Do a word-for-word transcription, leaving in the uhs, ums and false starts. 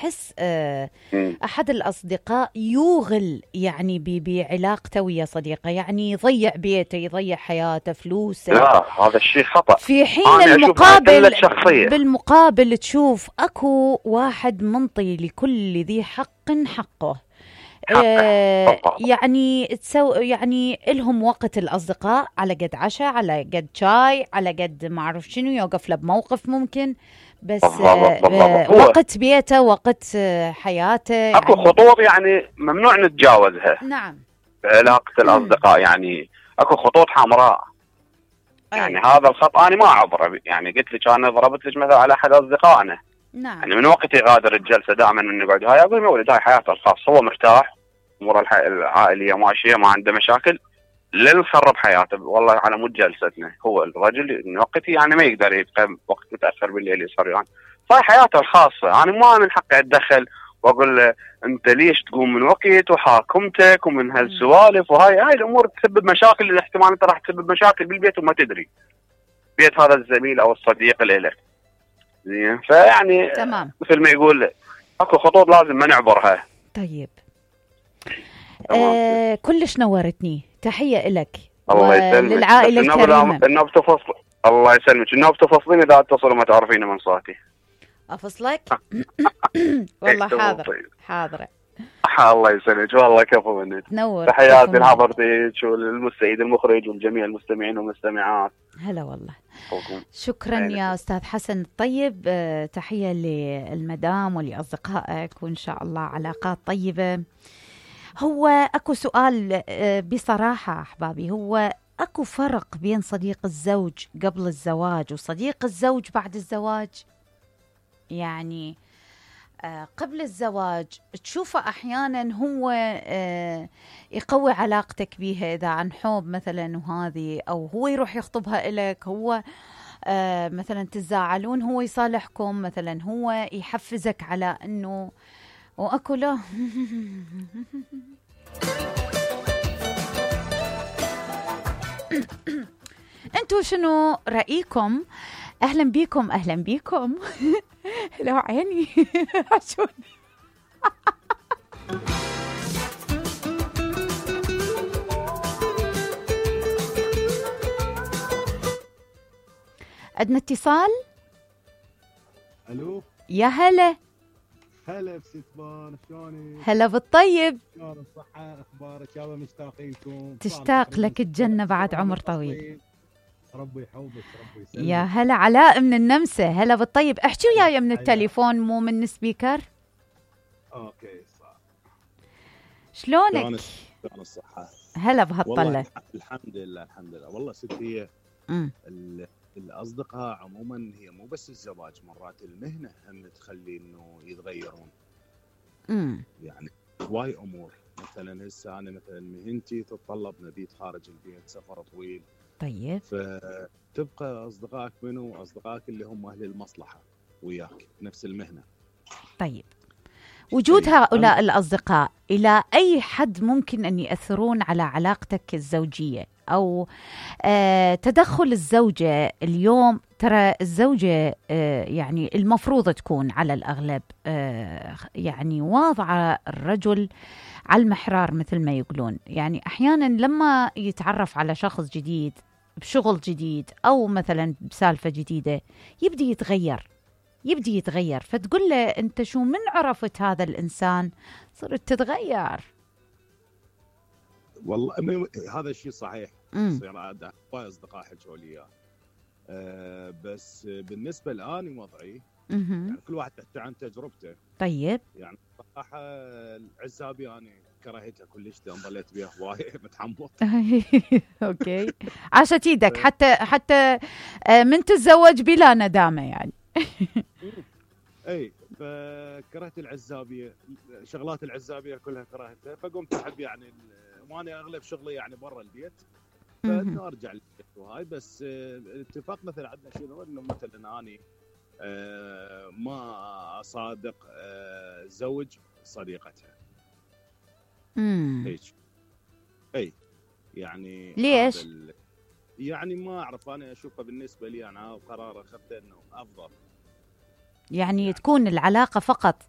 تحس آه مم. أحد الأصدقاء يوغل يعني ب- بعلاقته ويا صديقه، يعني يضيع بيته، يضيع حياته، فلوسه، لا هذا الشيء خطأ. في حين أنا أشوف هاي المقابل قلة شخصية. بالمقابل تشوف أكو واحد منطي لكل ذي حق حقه. آه حق. يعني تسو يعني إلهم وقت الأصدقاء على قد عشاء، على قد شاي، على قد ما أعرف شنو، يوقف له بموقف ممكن، بس بالضبط آه بالضبط. آه هو وقت بيته، وقت آه حياته اكو يعني. خطوط يعني ممنوع نتجاوزها نعم. بعلاقة الأصدقاء، يعني اكو خطوط حمراء. يعني أيوة. هذا الخط أنا ما أعبره. يعني قلت لك أنا ضربت لك مثلا على أحد أصدقائنا، نعم. يعني من وقت يغادر الجلسة دائما من نقعد هاي أقول يا ولد هاي حياته الخاصة، هو مرتاح، أمور الح- العائلية ماشية، ما عنده مشاكل، لا نخرب حياته. والله على مود جلستنا هو الرجل من وقتي يعني ما يقدر يبقى وقت متأخر بالليل يسهر يعني، فهي حياته الخاصة. أنا ما من حقي أتدخل وأقول له أنت ليش تقوم من وقت وحاكمتك ومن هالسوالف، وهاي هاي الأمور تسبب مشاكل، الاحتمال أنت راح تسبب مشاكل بالبيت وما تدري، بيت هذا الزميل أو الصديق اللي لك. زين، فيعني تمام. مثل ما يقول اكو خطوط لازم ما نعبرها. طيب. آه كلش نورتني، تحية لك الله يسلمك. وللعائلة الكريمة. النوب تفصل. الله يسلمك. النوب تفصلين اذا اتصلوا ما تعرفين من صوتي. افصلك؟ والله حاضر حاضرة. الله يسلمك والله كفو منك. تنور. تحياتي لحضرتك والمستعيد المخرج والجميع المستمعين والمستمعات. هلا والله. حكم. شكرا يا أستاذ حسن الطيب. أه تحية للمدام ولأصدقائك، وإن شاء الله علاقات طيبة. هو أكو سؤال أه بصراحة أحبابي، هو أكو فرق بين صديق الزوج قبل الزواج وصديق الزوج بعد الزواج؟ يعني أه قبل الزواج تشوفه أحيانا هو أه يقوي علاقتك بيها إذا عن حب مثلا وهذه، أو هو يروح يخطبها إلك، هو آه مثلا تزاعلون هو يصالحكم، مثلا هو يحفزك على انه، واكو لا انتوا شنو رأيكم؟ اهلا بيكم اهلا بيكم. لو عيني عشوني. عندنا اتصال. الو. يا هلا. هلا بستمان، شلونك؟ هلا بالطيب. شلون الصحة؟ اخبارك؟ يابا مشتاقينكم. تشتاق لك الجنة بعد عمر طويل. ربي يحوبك ربي يسلمك. يا هلا علاء من النمسا. هلا بالطيب. احكي وياي من التليفون مو من السبيكر. اوكي صح. شلونك؟ شلون الصحة؟ هلا بهالطلة. الحمد لله الحمد لله. والله ستي الأصدقاء عموما هي مو بس الزواج، مرات المهنة هم تخلي إنه يتغيرون. امم يعني هواي أمور، مثلا هسه أنا مثلا مهنتي تتطلب مبيت خارج البيت، سفر طويل. طيب. فتبقى أصدقائك منو؟ أصدقائك اللي هم أهل المصلحة وياك نفس المهنة. طيب، وجود هؤلاء الأصدقاء إلى أي حد ممكن أن يأثرون على علاقتك الزوجية؟ أو آه تدخل الزوجة اليوم، ترى الزوجة آه يعني المفروض تكون على الأغلب آه يعني واضعة الرجل على المحرار مثل ما يقولون. يعني أحيانا لما يتعرف على شخص جديد بشغل جديد أو مثلا بسالفة جديدة يبدي يتغير يبدي يتغير فتقول له أنت شو من عرفت هذا الإنسان صرت تتغير. والله هذا الشيء صحيح. يصير عاد هواي أصدقاء حكوا لي إياه. أه بس بالنسبة لآني وضعي يعني كل واحد يحكي عن تجربته. طيب. يعني صراحة العزابي أنا كرهتها كلش، ضليت بيها هواي متحمط. أوكي. عاشت إيدك حتى حتى من تتزوج بلا ندامة يعني. اي فكرهت العزابيه، شغلات العزابيه كلها كرهتها، فقمت احب يعني وانا اغلب شغلي يعني برا البيت، فانه ارجع للبيت وهاي. بس الاتفاق مثلا عندنا شنو انه مثلا اني ما اصادق زوج صديقتها. امم هيك. اي يعني ليش؟ يعني ما اعرف، انا اشوفها بالنسبه لي انا قرار اخذته انه افضل يعني, يعني تكون العلاقة فقط